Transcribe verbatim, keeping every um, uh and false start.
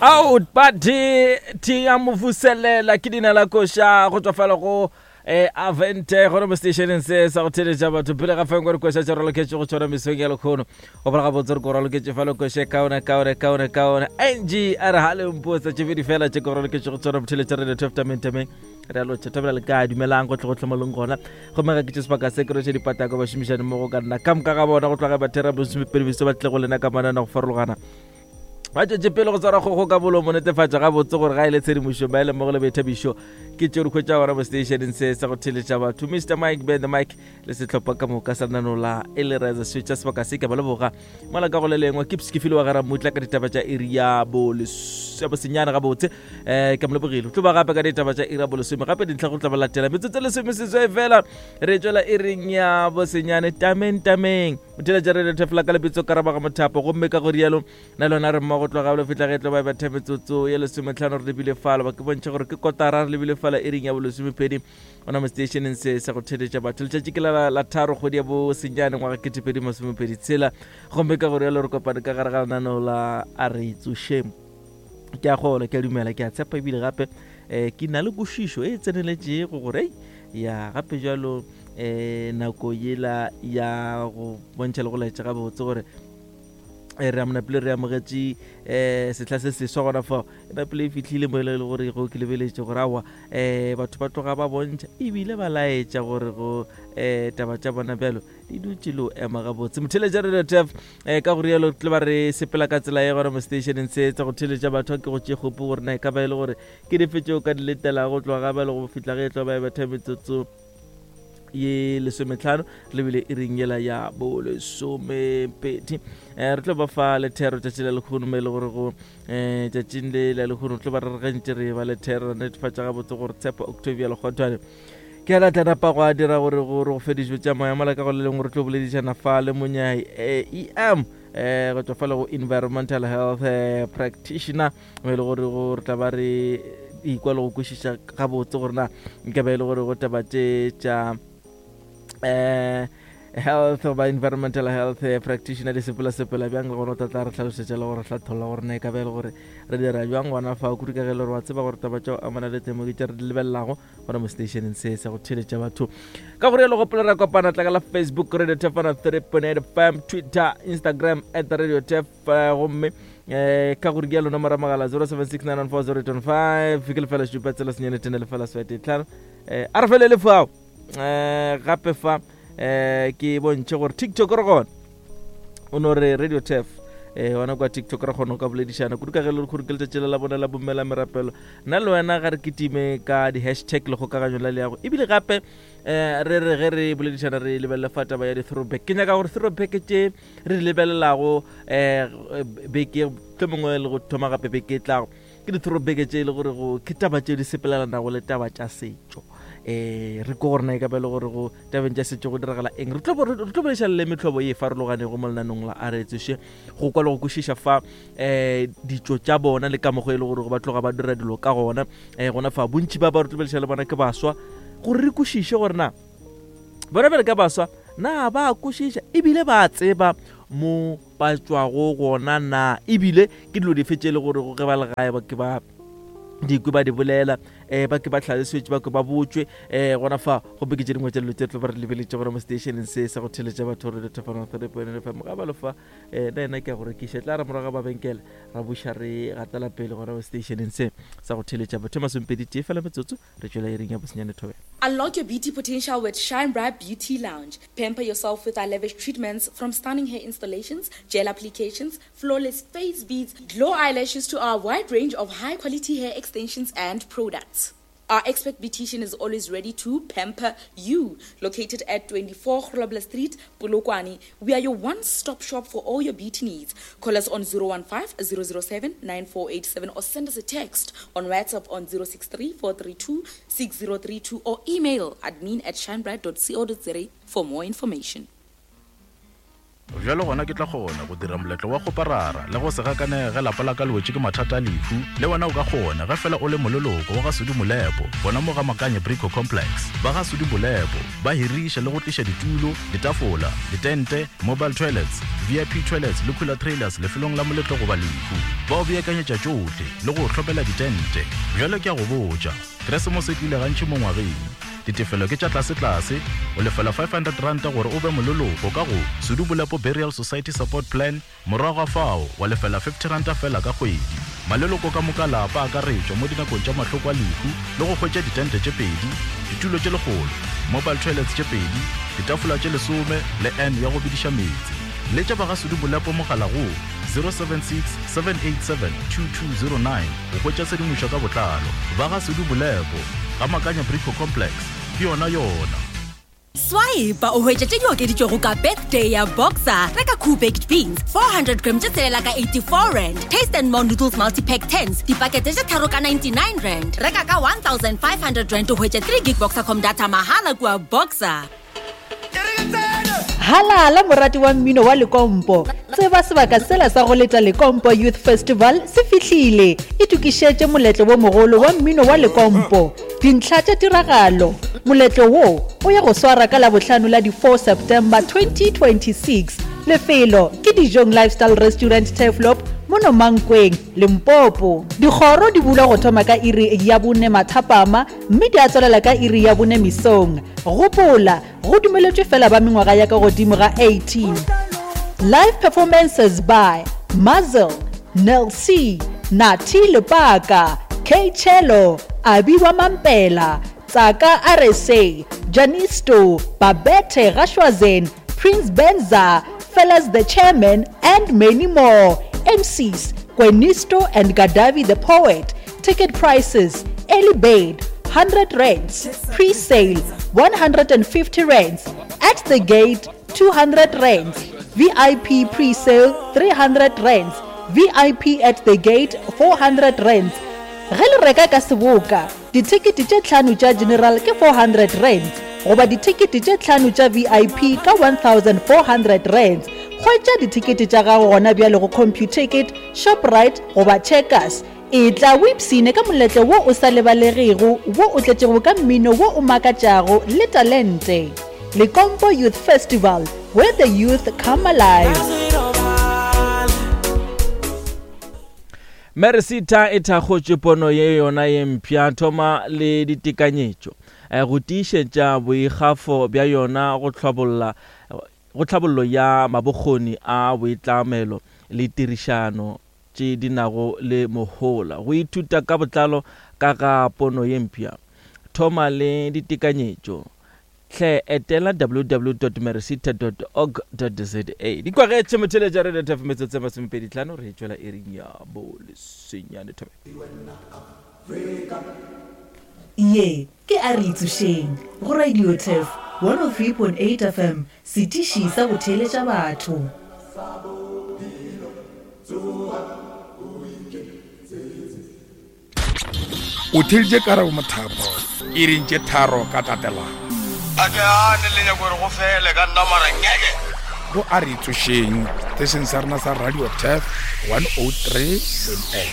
Out party tia mofuselela ke dina la koša go tswa fela go eh avente gona mo stationeng se sa go theletša batho pele ga feng gore koša tša raloketše go tshwana mesong ya lekgono go bola gabotse re ko raloketše fa le koše kaone kaone kaone kaone ng a re ga lempotsa tše pedi fela tše ko raloketše go tshwana botheletša radio twelve tameng tameng re a lotšha thabela le kae dumelang gotlhe gotlhe mo leng gona gomme ga ke tše sebaka se ke roše dipatako bašomišane mmogo ka nna ka moka ga bona go tloga bathera bosomepedi beso ba tle go lena ka manana go farologana ba tšwetše pele go tswara kgogo ka bolomo netefatša gabotse gore ga e le tshedimošo ba e le mmogo le boithabišo ke tšeo di hwetša gona mo stationeng se sa go theletša batho Mr Mike Ben the Mike le sehlopha ka moka sa lenaneo la e le reza swetša sebaka se ke ba leboga mola ka go le lengwe ke ke file wa gara mmutla ka ditaba tša iri ya bosenyane gabotse um ke mo lebogile tlo ba gape ka ditaba tša iri ya bolesome gape dintlha go tla ba latela metsotso lesome seswai fela re tšwela iring ya bosenyane tameng tameng motheletša re thefela ka lebitso karabaga mothapo gomme ka go rialo na lona re mmogo tloga lo fihla ge tlo ba betha metsotso ye lesometlhano re lebile fala ba ke bontšha gore ke kotara re lebile fala iring ya bolesomepedi ona mo stationeng se sa go theletša batho letšatši ke la la tharo kgwedi ya bosenyane ngwaga ketepedi masomepedi tshela gomme ka go rialo re kopane ka gare ga lenaneo la a re tsošeng ke a gola ke a dumela ke a tshepa ebile gape um ke na le kwešišo e tseneletšego gore ya gape jalo um nako yela ya go bontšha le go laetša gabotse gore re a monapile re amogetše um sehla se seswa gona fao e napile e fihlile mo e le gore go ke lebeletše gore aowa um batho ba tloga ba bontšha ebile ba laetša gore go um taba tša bona bjalo di dutše le o ema gabotse motheletša radio tef um ka go rialo tle ba re sepela ka tsela ye gona mo stationeng se tsa go theletša batho ke go tše kgopo gore na e ka ba e le gore ke dife tšeo ka di letelago go tloga ga ba le go fihla ge e tlo ba e betha metsotso ye lesometlhano re lebile e reng yela ya bolesomepedi um re tlo ba fa lethero tšatši la lekgono mo e le gore go um tšatšing le la lekgono re tlo ba re re gantše re ba lethero ra netefatša gabotse gore tshepo Octavia Lekgothwane ke a tla napa go a dira gore gore go fe dijo tša moya mola ka go le lengwe re tlo boledišana fa le monyai em um go tswa fa le go environmental health practitioner mo e le gore go re tla ba re ikwa le go kwešiša gabotse gore na nka ba e le gore go taba tše tša um health goba environmental health practitioner di sepela sepela bjang le gona o tla tla re hlalosetša le gore hlatholla gore na e ka ba e le gore re dira bjang gona fa kudu ka ge e le gore wa tseba gore taba tša go amana le temo ke tše re di lebelelago gona mo stationeng se sa go theletša batho ka gore le gopola ra kopana tla ka la Facebook Radio Tefana three point eight F M, Twitter, Instagram at Radio Tef, gomme um ka gore ke ya lona moramagala zero seven six nine one four zero eight one five ke lefela šupa tsela senyane tene lefela swete tlhano um a re felele fao um gape fa um ke bontšhe gore TikTok re gona o no re Radio Tef um gona kwa TikTok re kgona go ka boledišana kudu ka ge le gore ke letšatši le la bona la bommela merapelo nna le wena ga re kitime ka di-hashtag le kgokaganyo la leago ebile gape um re re ge re boledišana re lebelele fa taba ya di-throwback ke nyaka gore throwback tše re di lebelelago um beke tlo mongwe le go thoma gape beke e tlago ke di-throwback tše e le gore go ke taba tše di sepelelanago le taba tša setšo um re ko gore na e ka ba e le gore go tabeng tša setšo go diragala eng re tlo re tlo boledišana le metlhobo ye e farologanego mo lenanong la a re tsoše go kwa le go kwešiša fa um ditšo tša bona le ka mokgwa e le gore ba tloga ba dira dilo ka gona um gona fa bontši ba ba re tlo boledišana le bona ke baswa gore re kwešiše gore na bona bjale ka baswa na ba kwešiša ebile ba tseba mo ba tšwago gona na ebile ke dilo dife tše e le gore ge ba le gae ba ke ba dikwe ba di bolela um ba ke ba tlhalosetse ba ke ba botšwe um gona fa gomme ke tše dingwe tša dilo tše tlo ba re lebeletše gona mo stationeng se sa go theletša batho re thefana three point nine F M ga ba le fa um na ena ke ya go rekiša tla re morago ga mabenkele ra buša re gatela pele gona mo stationeng se sa go theletša batho masomepedi tee fela metsotso re tšwela iring ya bosenyane thobela. Unlock your beauty potential with Shine Bright Beauty Lounge. Pamper yourself with our lavish treatments, from stunning hair installations, gel applications, flawless face beads, glow eyelashes to our wide range of high quality hair extensions and products. Our expert beautician is always ready to pamper you. Located at twenty-four Grobler Street, Polokwane, we are your one-stop shop for all your beauty needs. Call us on zero one five, zero zero seven, nine four eight seven or send us a text on WhatsApp on zero six three, four three two, six zero three two or email admin at shinebright dot co dot za for more information. Bjalo gona ke tla kgona go dira moletlo wa kgoparara le go se gakanege ge lapa la ka le wetše ke mathata a lehu. Le wena o ka kgona ge fela o le moleloko wa ga Sudi Molepo gona mo ga Makanye Brico Complex. Ba ga Sudi Molepo ba hiriša le go tliša ditulo, ditafola, ditente, mobile toilets, V I P toilets le cooler trailers lefelong la moletlo goba lehu. Ba o beakanyetša tšohle le go o hlopela ditente. Bjalo ke a go botša, Keresemose e tlile gantši mo ngwageng. Ditefelo ke tša tlase-tlase, o lefela five hundred ranta gore o be moleloko ka go Sudi Bolepo Burial Society Support Plan, morago ga fao wa lefela fifty ranta fela ka kgwedi. Maleloko ka moka lapa a akaretšwa mo dinakong tša mahloko a lehu le go hwetša ditente tše pedi, ditulo tše lekgolo, mobile toilets tše pedi, ditafola tše lesome le N ya go bediša meetse. Letša ba ga Sudi Bolepo mogala go zero seven six, seven eight seven, two two zero nine go hwetša tshedimošo ka botlalo. Ba ga Sudi Bolepo, ga Makanya Brico Complex, ke yona yona. Swipe o hwetše tše di okeditšwego ka birthday ya Boxer. Reka Cool Baked Beans four hundred gram tše tshelela ka eighty-four rand. Taste and More Noodles Multi-Pack tens dipakete tše tharo ka ninety-nine rand. Reka ka one thousand five hundred rand o hwetše three gig Boxercom data mahala kua Boxer. Halala morati wa mmino wa Lekompo. Tseba sebaka sela sa go leta Lekompo Youth Festival se fihlile. Itokišetše moletlo wo mogolo wa mmino wa Lekompo. Dintlha tša tiragalo. Moletlo wo o ya go swara ka Labohlano la di four September twenty twenty-six. Lefelo ke Dijong Lifestyle Restaurant Turfloop mono Mankweng, Limpopo. Dikgoro di bulwa go thoma ka iri ya bone mathapama mme di a tswelela ka iri ya bone mesong. Gopola, go dumeletšwe fela ba mengwaga ya ka godimo ga eighteen. Live performances by Muzzle, Nel C, Nati Lepaka, K Cello, Abi wa Mampela, Tsaka R S A, Janisto, Babette Gashwazen, Prince Benza, Fellas the Chairman, and many more. M Cs, Gwenisto and Gadavi the Poet. Ticket prices, early bird, hundred rands, pre-sale, one hundred and fifty rands, at the gate, two hundred rands, V I P pre-sale, three hundred rands, V I P at the gate, four hundred rands. Ge le reka ka seboka, dithekete tše tlhano tša general ke four hundred rands, goba dithekete tše tlhano tša V I P ka one thousand four hundred rands. Hwetša dithekete tša gago gona bjale go Computicket, Shoprite goba Checkers. E tla o ipshine ka moletlo wo o sa lebalegego, wo o tletšego ka mmino wo o makatšago le talente. Lekompo Youth Festival, where the youth come alive. Meresita e thakgotše pono ye yona ye mpsha thoma le ditekanyetšo go tiišetša boikgafo bja yona go hlabolla go tlhabollo ya mabokgoni a boitlamelo le tirišano tše di nago le mohola. Go ithuta ka botlalo ka ga pono ye mpsha thoma le ditekanyetšo. Hle etela w w w dot meresita dot org dot z a. Dikwagetše motheletša Radio T F metsotso e masomepedi tlhano re tšwela iring ya bolesenyane thobe. Ye ke a re itsošeng go Radio T F one oh three point eight F M, setiši sa go theeletša batho. O theeleditše Karabo Mothapo iring tše tharo ka tatelano. A ke gane le nyako gore go fele ka nna mara ngeke. Go a re itsošeng setešeng sa rena sa Radio T F one oh three point eight.